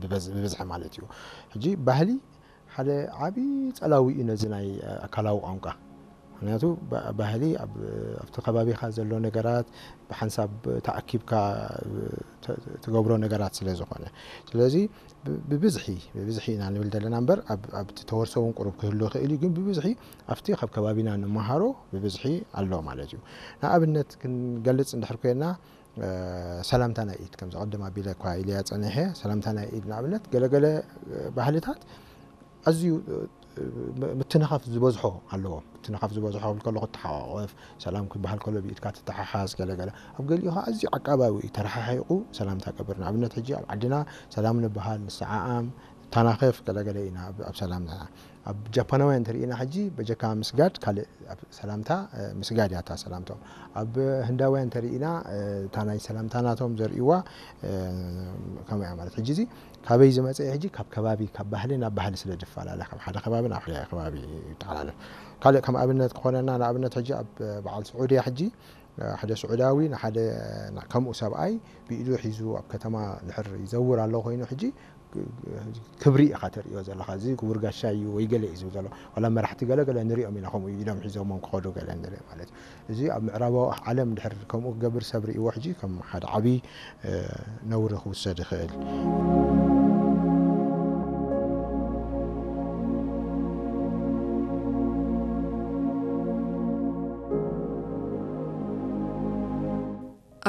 ብበዝ-፣ ብብዝሒ ማለት እዩ። ሕጂ ባህሊ ሓደ ዓቢ ጸላዊ እዩ ነዚ ናይ ኣካላዊ ቋንቋ። ምኽንያቱ ባ-፣ ባህሊ ኣብ፣ ኣብቲ ከባቢኻ ዘሎ ነገራት ብሓንሳብ ተኣኪብካ ተ-፣ ትገብሮ ነገራት ስለ ዝኾነ። ስለዚ ብ-፣ ብብዝሒ፣ ብብዝሒ ኢና ንብል ዘለና እምበር ኣብ፣ ኣብቲ ተወርሶ እውን ቁሩብ ክህሉ ይኽእል እዩ፣ ግን ብብዝሒ ኣብቲ ካብ ከባቢና ንመሃሮ ብብዝሒ ኣሎ ማለት እዩ። ንኣብነት ክንገልጽ እንድሕር ኮይና፣ እ፣ ሰላምታ ናይ ኢድ፣ ከምዚ ቅድም ኣቢለ እኳ ኢለያ ጸኒሐ፣ ሰላምታ ናይ ኢድ ንኣብነት ገለገለ፣ እ፣ ባህልታት ኣዝዩ፣ እ፣ እ፣ ምትንኻፍ ዝበዝሖ ኣለዎ። ምትንኻፍ ዝበዝሖ ክብል ከለኹ፣ ትሓቋቖፍ፣ ሰላም ክበሃል ከሎ ብኢድካ ትተሓሓዝ፣ ገለገለ። ኣብ ገሊኡ ኸዓ ኣዝዩ ዓቃባዊ እዩ፣ ተረሓሒቑ ሰላምታ ቀብር። ንኣብነት ሕጂ ኣብ ዓድና ሰላም ንበሃል፣ ንሰዓዓም፣ ንተናኸፍ፣ ገለገለ ኢና ኣብ፣ ኣብ ሰላምና። ኣብ ጃፓናውያን እንተርኢና ሕጂ በጀካ ምስጋድ ካልእ ኣብ ሰላምታ፣ እ፣ ምስጋድ እያ እታ ሰላምቶም። ኣብ ህንዳውያን እንተርኢና፣ እ፣ እታ ናይ ሰላምታ ናቶም ዘርእይዋ፣ እ፣ ከምኡ እያ ማለት። ሕጂ እዚ ካበይ ዝመጸ እዩ? ሕጂ ካብ ከባቢ፣ ካብ ባህሊ ናብ ባህሊ ስለ ዝፈላለ፣ ካብ ሓደ ከባቢ ናብ ሓደ ከባቢ ይተሓላለፍ። ካልእ ከም ኣብነት ክኾነና፣ ንኣብነት ሕጂ ኣብ በዓል ስዑድያ ሕጂ፣ እ፣ ሓደ ስዑዳዊ ንሓደ ና-፣ ከምኡ ሰብኣይ ብኢዱ ሒዙ ኣብ ከተማ ድሕር ይዘውር ኣሎ ኮይኑ፣ ሕጂ ክብሪ ኢኻ ተርእዮ ዘለኻ፣ እዚ ክቡር ጋሻ እዩ ወይ ገለ እዩ ዝብል ዘሎ። ዋላ መራሕቲ ገለ ገለ ንሪኦም ኢና፣ ከምኡ ኢዶም ሒዞሞም ክኸዱ ገለ ንርኢ ማለት እዩ። እዚ ኣብ ምዕራባዊ ዓለም ድሕር ከምኡ ክገብር ሰብ ርእይዎ፣ ሕጂ ከም ሓደ ዓብዪ፣ እ፣ ነውሪ ክውሰድ ይኽእል።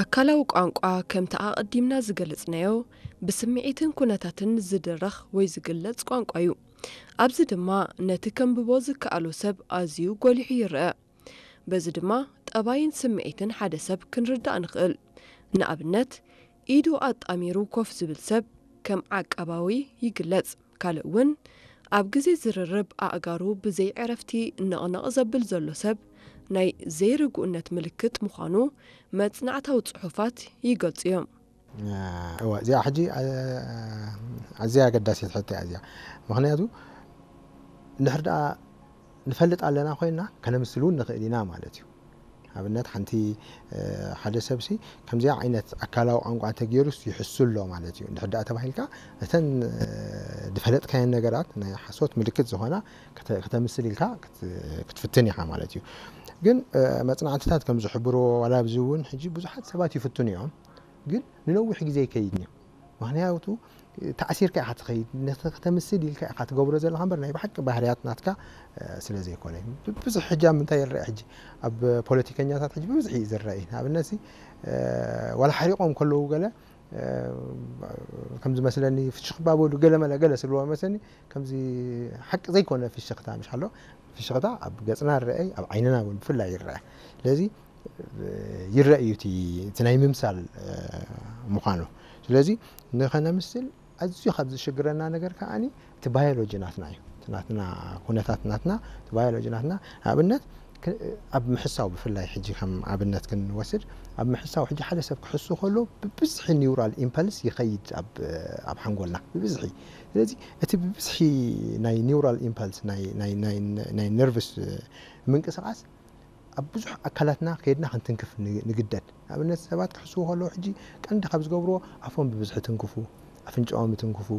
ኣካላዊ ቋንቋ፣ ከምቲ ኣቐዲምና ዝገለጽናዮ፣ ብስምዒትን ኩነታትን ዝድረኽ ወይ ዝግለጽ ቋንቋ እዩ። ኣብዚ ድማ ነቲ ከንብቦ ዝከኣሎ ሰብ ኣዝዩ ጎሊሑ ይረአ። በዚ ድማ ጠባይን ስምዒትን ሓደ ሰብ ክንርዳእ ንኽእል። ንኣብነት፣ ኢዱ ኣጣሚሩ ኮፍ ዝብል ሰብ ከም ዓቃባዊ ይግለጽ። ካልእ እውን፣ ኣብ ግዜ ዝርርብ ኣእጋሩ ብዘይ ዕረፍቲ ነቕነቕ ዘብል ዘሎ ሰብ ናይ ዘይርጉእነት ምልክት ምዃኑ መጽናዕታዊ ጽሑፋት ይገልጹ እዮም። እወ፣ እዚኣ ሕጂ፣ እ፣ ኣዝያ ኣገዳሲት ሕቶ እያ እዚኣ። ምኽንያቱ፣ እንድሕር ደኣ ንፈልጥ ኣለና ኮይንና፣ ከነምስል እውን ንኽእል ኢና ማለት እዩ። ኣብነት፣ ሓንቲ፣ እ፣ ሓደ ሰብሲ ከምዚኣ ዓይነት ኣካላዊ ቋንቋ እንተገይሩስ ይሕሱ ኣሎ ማለት እዩ። እንድሕር ደኣ ተባሂልካ፣ እተን፣ እ፣ ዝፈለጥካየን ነገራት ናይ ሓሶት ምልክት ዝኾና ክተ-፣ ክተምስል ኢልካ ክት-፣ ክትፍትን ኢኻ ማለት እዩ። ግን፣ እ፣ መጽናዕትታት ከም ዝሕብርዎ፣ ዋላ ኣብዚ እውን ሕጂ ብዙሓት ሰባት ይፍትኑ እዮም። ግን ንነዊሕ ግዜ ኣይከይድን እዩ። ምኽንያቱ ተኣሲርካ ኢኻ ትኸይድ፣ ነቲ ከተምስል ኢልካ ኢኻ ትገብሮ ዘለኻ እምበር ናይ ብሓቂ ባህርያት ናትካ፣ እ፣ ስለ ዘይኮነ። ብ-፣ ብዙሕ ሕጂ ኣብ ምንታይ ይረአ ሕጂ? ኣብ ፖለቲከኛታት ሕጂ ብብዝሒ እዩ ዝረአ። ንኣብነት ሲ፣ እ፣ ዋላ ሓሪቖም ከለዉ ገለ፣ እ፣ ከም ዝመስለኒ ፍሽኽ ባበሉ ገለ መለ ገለ ስልዎ መስለኒ፣ ከምዚ ሓቂ ዘይኮነ ፍሽኽታ ምሽ ኣሎ። ፍሽኽታ ኣብ ገጽና ይረአ፣ ኣብ ዓይንና እውን ብፍላይ ይረአ። ስለዚ ይረአ እዩ እቲ፣ እቲ ናይ ምምሳል፣ እ፣ ምዃኑ። ስለዚ ንኸነምስል ኣዝዩ ካብ ዝሽግረና ነገር ከኣኒ እቲ ባዮሎጂ ናትና እዩ። እቲ ናትና ኩነታት ናትና፣ እቲ ባዮሎጂ ናትና፣ ንኣብነት ክ-፣ ኣብ ምሕሳው ብፍላይ ሕጂ ከም ኣብነት ክንወስድ፣ ኣብ ምሕሳው ሕጂ ሓደ ሰብ ክሕሱ ከሎ ብብዝሒ ኒውራል ኢምፐልስ ይኸይድ ኣብ፣ ኣብ ሓንጎልና ብብዝሒ። ስለዚ እቲ ብብዝሒ ናይ ኒውራል ኢምፐልስ ናይ፣ ናይ፣ ናይ፣ ናይ ነርቭስ ምንቅስቓስ ኣብ ብዙሕ ኣካላትና ከይድና ክንትንክፍ ን-፣ ንግደድ። ንኣብነት ሰባት ክሕስዉ ከለዉ ሕጂ ቀንዲ ካብ ዝገብርዎ ኣፎም ብብዝሒ ትንክፉ፣ ኣፍንጫኦም ይትንክፉ፣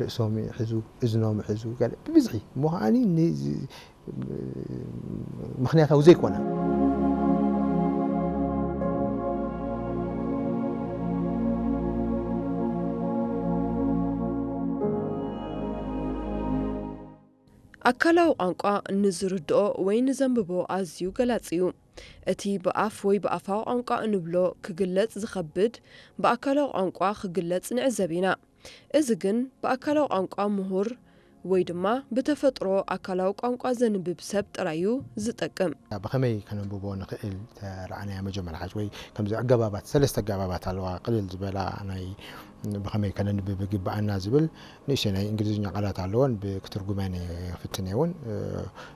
ርእሶም ይሕዙ፣ እዝኖም ይሕዙ፣ ገለ ብብዝሒ እሞ ከኣኒ ን-፣ ዝ-፣ ምኽንያታዊ ዘይኮነ። ኣካላዊ ቋንቋ ንዝርድኦ ወይ ንዘንብቦ ኣዝዩ ገላጺ እዩ። እቲ ብኣፍ ወይ ብኣፋዊ ቋንቋ እንብሎ ክግለጽ ዝኸብድ፣ ብኣካላዊ ቋንቋ ክግለጽ ንዕዘብ ኢና። እዚ ግን ብኣካላዊ ቋንቋ ምሁር ወይ ድማ ብተፈጥሮ ኣካላዊ ቋንቋ ዘንብብ ሰብ ጥራይ እዩ ዝጠቅም። ብኸመይ ከነንብቦ ንኽእል ተረኣናዮ መጀመርያ ሓጅ ወይ ከምዚ ኣገባባት፣ ሰለስተ ኣገባባት ኣለዋ፣ ቅልል ዝበላ ናይ ብኸመይ ከነንብብ ይግብኣና ዝብል ንእሽተይ ናይ እንግሊዝኛ ቃላት ኣለወን፣ ብ-፣ ክትርጉመን እየ ክፍትን እየ እውን። እ፣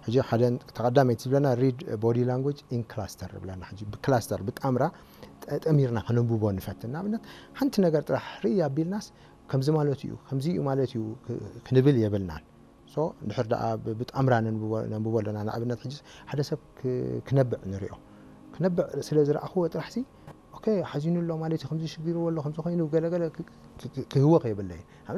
ሕጂ ሓደ ተቐዳመይቲ ዝብለና ሪድ ቦዲ ላንጉጅ ኢን ክላስተር ዝብለና፣ ሕጂ ብክላስተር፣ ብጣምራ ጠ-፣ ጠሚርና ከነንብቦ ንፈትን። ንኣብነት፣ ሓንቲ ነገር ጥራሕ ርኢ ኣቢልናስ፣ ከምዚ ማለት እዩ፣ ከምዚ እዩ ማለት እዩ ክ-፣ ክንብል የብልናን። ሶ፣ እንድሕር ደኣ ብ-፣ ብጣምራ ነንብቦ፣ ነንብቦ ኣለና። ንኣብነት፣ ሕጂ ሓደ ሰብ ክ-፣ ክነብዕ ንሪኦ። ክነብዕ ስለ ዝረኣኽዎ ጥራሕሲ፣ ኦኬ፣ ሓዚኑ ኣሎ ማለት እዩ፣ ከምዚ ሽግርዎ ኣሎ፣ ከምዚ ኮይኑ፣ ገለ ገለ ክ-፣ ክ-፣ ክ-፣ ክህወኽ የብለይን።